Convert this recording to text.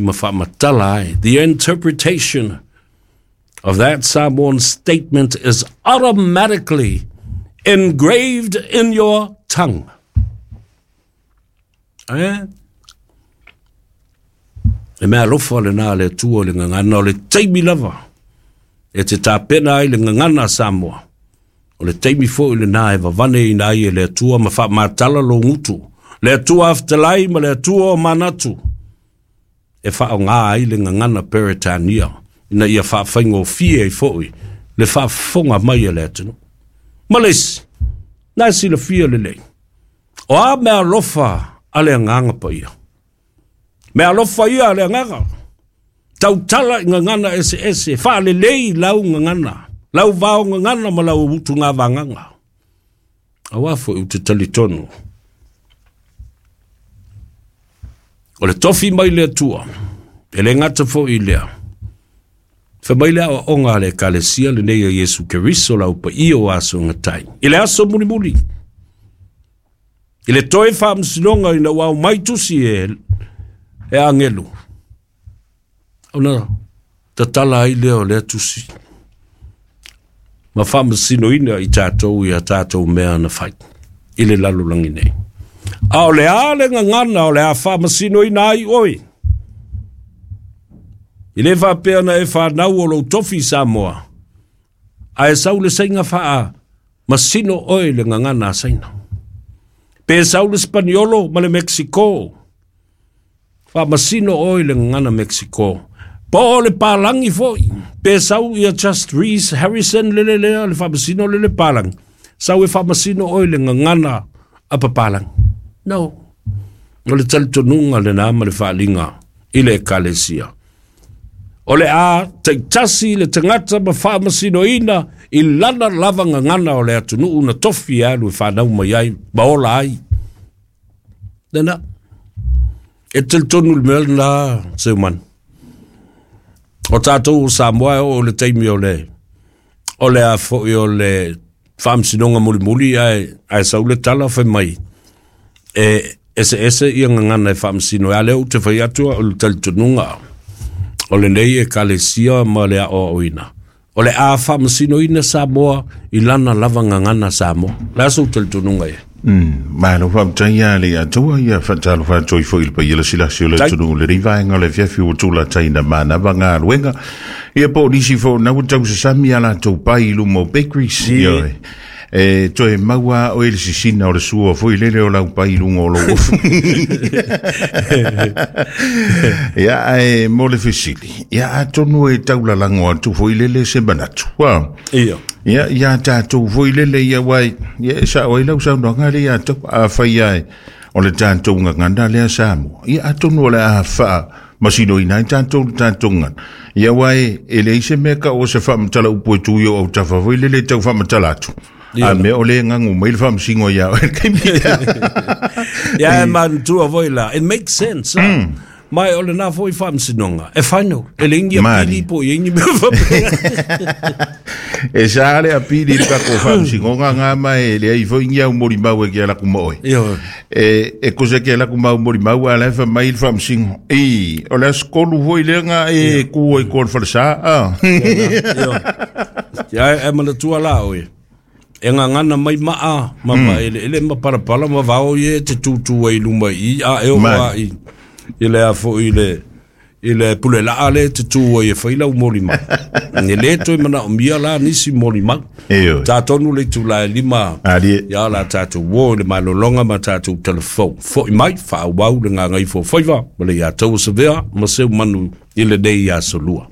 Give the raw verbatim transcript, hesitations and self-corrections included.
Ma faamatala ai. The interpretation of that Samoan statement is automatically engraved in your tongue. Eh? E mea alofa lena le Atua le gagana o le taimi lava e te tapena ai le gagana a Samoa. O le taimi fo'i lena e vavane ina ai e le Atua ma faamatala lou gutu. Le Atua afetalai ma le Atua o manatu e faaaogā ai le gagana Peretania ina ia faafaigofie ai fo'i le faafofoga mai a le atunuu. Ma le isi, na e silafia lelei. O a mea alofa a le agaga paia. Mea alofa ia a le agaga. Tautala i gagana eseese, faalelei lau gagana, lau vao gagana ma lau utuga vagaga. Auā fo'i ou te talitonu. O le tofi mai le Atua, e le gata fo'i lea. Fai mai le aoaoga a le Ekalesia lenei a Iesu Keriso lau paia o aso gatai. I le aso mulimuli, i le toe faamasinoga ina ua aumai tusi e, e agelu. Ona tatala ai lea o lea tusi. Ma faamasinoina i tatou ia tatou mea na fai i le lalolagi nei. A o le a le gagana o le a faamasinoina ai oe. I le faapea na e whanau o lou tofi Samoa. A e sau le sainga faa masino oe le gagana a Saina. Pe sau le Spaniolo ma le Mexico. Faamasino oe le gagana Mexico. Po o le palangi fo'i. Pe sau ia Just Reese Harrison lele lea le faamasino lele palangi. Sau e faamasino oe le gagana a papalangi. No. O le talitonuga lena ma le faaliga i le ekalesia. O le a taitasi le tagata ma faamasinoina i lana lava gagana o le atunuu na tofi e alu e whanau mai ai, ma ola ai. Lena, e talitonu le mea lena, Seumanu. O tātou o Samoa e o le taimi o le, o le a fo'i o le faamasinoga mulimuli ae, ae sau le tala fai mai. E ese ese ia gagana e faamasino. E a lea ou te fai atu o le talitonuga o lenei ekalesia ma le aoaoina. O le a faamasinoina Samoa i lana lava gagana Samoa. Le a sou talitonuga ia? Mm, malo faafetai ia le Atua ia faatalofa atu ai foi i le paia lasilasi o le atunuu le vaega o le afiafi ua tulataina manava galuega ia po o nisi foʻi na ua tausasami a latou pai i luma o bakeries ia e toe maua oe le sisina o le sua foi lele o lau pai i luga o lou ofu ia ae mo le fesili ia atonu e taulalago atu foi lele se manatu wa Ia. ia ia tatou foi lele ia wai ia e sao ai lau saunoaga le ia tau a fai ai o le tatou gagana lea Samoa ia atonu o le a faa masinoina ai tatou le tatou gagana ia wai e leai se mea ka o se faamatala upu e tu i o autafa foi lele tau faamatala atu a mea o le gagu mai le faamasino ia oe le kaimi Ia e manatua foi la. It makes sense. Mm. Mai o lena foi faamasinoga. E final. E le ingi Mali. apili po i ingi mea faapea. E sa le apili le kako faamasinoga ngā mai e leai foi ngi au molimau e ke ala kuma oe Ia. e e kose ke la kuma molimau a la fa mai le faamasino i o le aso tolu foi lea nga e ku ai ko le falesa a Ia. Ia e manatua la oe. E gagana mai maa ma ma ele ele ma palapala ma vao ie te tutu ai luma i a e o Mali. a i i le a foi le i le pule laa le te tu ai e fai lau molimau. E le toe manaomia la nisi molimau. E oi. Tatonu le itula e lima Ali. ia la tatou uō i le malologa ma tatou telefou. Fo'i mai faaauau le gagaifo faiva ma le ia tau savea ma Seumanu i lenei aso lua.